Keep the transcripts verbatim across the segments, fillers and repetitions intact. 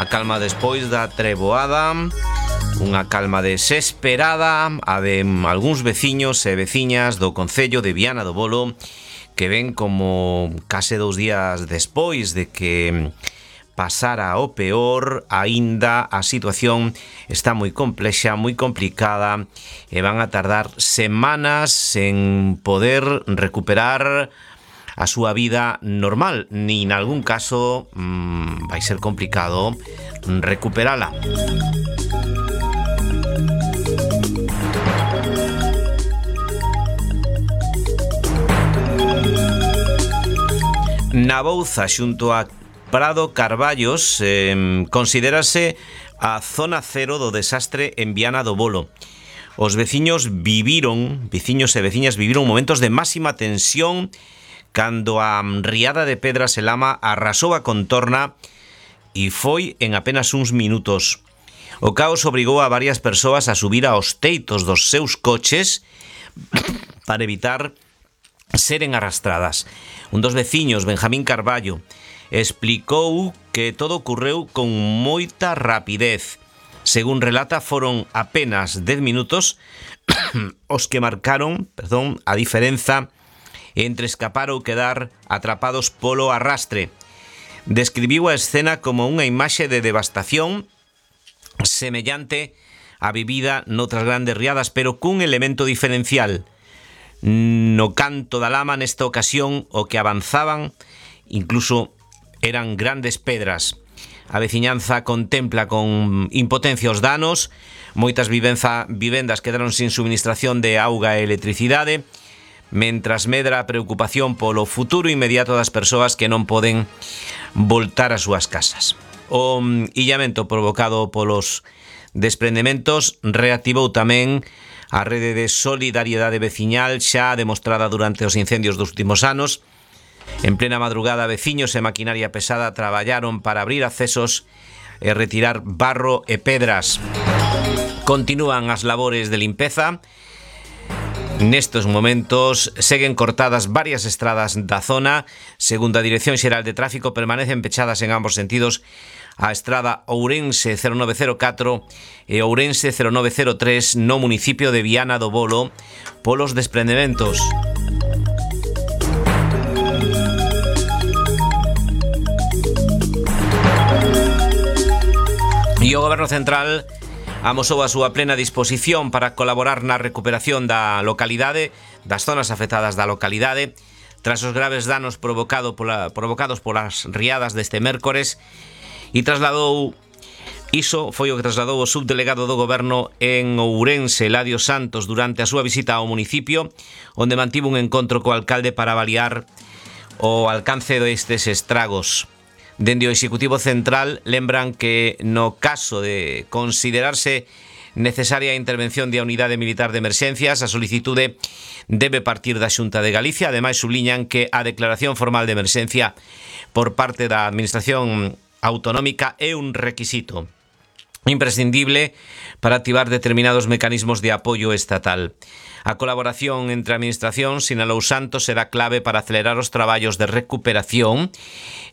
Unha calma despois da treboada, unha calma desesperada a de algúns veciños e veciñas do concello de Viana do Bolo, que ven como case dous días despois de que pasara o peor, aínda a situación está moi complexa, moi complicada, e van a tardar semanas en poder recuperar a súa vida normal. Ni en algún caso mmm, vai ser complicado recuperala. Na Bouza, xunto a Prado Carballos, eh, considérase a zona cero do desastre en Viana do Bolo. Os veciños viviron, veciños e veciñas viviron momentos de máxima tensión cando a riada de pedras e lama arrasou a contorna e foi en apenas uns minutos. O caos obrigou a varias persoas a subir aos teitos dos seus coches para evitar seren arrastradas. Un dos veciños, Benjamín Carballo, explicou que todo ocorreu con moita rapidez. Según relata, foron apenas dez minutos os que marcaron, perdón, a diferenza entre escapar ou quedar atrapados polo arrastre. Describiu a escena como unha imaxe de devastación semellante á vivida noutras grandes riadas, pero cun elemento diferencial. No canto da lama, nesta ocasión, o que avanzaban incluso eran grandes pedras. A veciñanza contempla con impotencia os danos. Moitas vivenza, vivendas quedaron sin suministración de auga e electricidade, mentras medra a preocupación polo futuro inmediato das persoas que non poden voltar ás súas casas. O illamento provocado polos desprendementos reactivou tamén a rede de solidariedade veciñal xa demostrada durante os incendios dos últimos anos. En plena madrugada, veciños e maquinaria pesada traballaron para abrir accesos e retirar barro e pedras. Continúan as labores de limpeza. Nestes momentos seguen cortadas varias estradas da zona. Segundo a Dirección Xeral de Tráfico, permanecen pechadas en ambos sentidos a estrada Ourense cero nove cero catro e Ourense cero nove cero tres no municipio de Viana do Bolo polos desprendementos. E o Goberno Central amosou a súa plena disposición para colaborar na recuperación da localidade, das zonas afectadas da localidade, tras os graves danos provocado pola, provocados polas riadas deste mércores, e trasladou, iso foi o que trasladou o subdelegado do Goberno en Ourense, Eladio Santos, durante a súa visita ao municipio, onde mantivo un encontro co alcalde para avaliar o alcance destes estragos. Dende o Executivo Central lembran que no caso de considerarse necesaria a intervención da Unidade Militar de Emerxencias, a solicitude debe partir da Xunta de Galicia. Ademais, subliñan que a declaración formal de emerxencia por parte da Administración Autonómica é un requisito imprescindible para activar determinados mecanismos de apoio estatal. A colaboración entre a Administración, sinalou Santos, será clave para acelerar os traballos de recuperación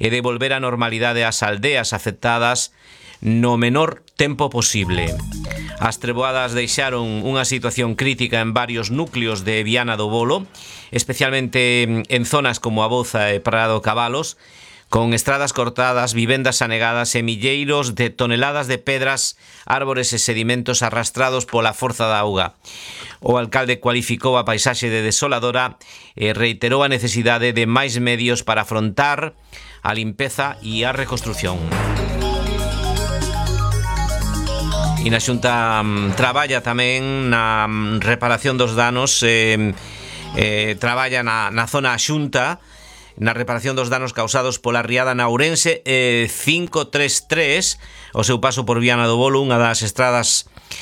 e devolver a normalidade ás aldeas afectadas no menor tempo posible. As treboadas deixaron unha situación crítica en varios núcleos de Viana do Bolo, especialmente en zonas como a Bouza e Prado Cabalos, con estradas cortadas, vivendas anegadas e milleiros de toneladas de pedras, árbores e sedimentos arrastrados pola forza da auga. O alcalde cualificou a paisaxe de desoladora e reiterou a necesidade de máis medios para afrontar a limpeza e a reconstrución. E na Xunta um, traballa tamén na um, reparación dos danos, eh, eh, traballa na, na zona Xunta, na reparación dos danos causados pola riada na Ourense eh, cinco tres tres, o seu paso por Viana do Bolo, unha das estradas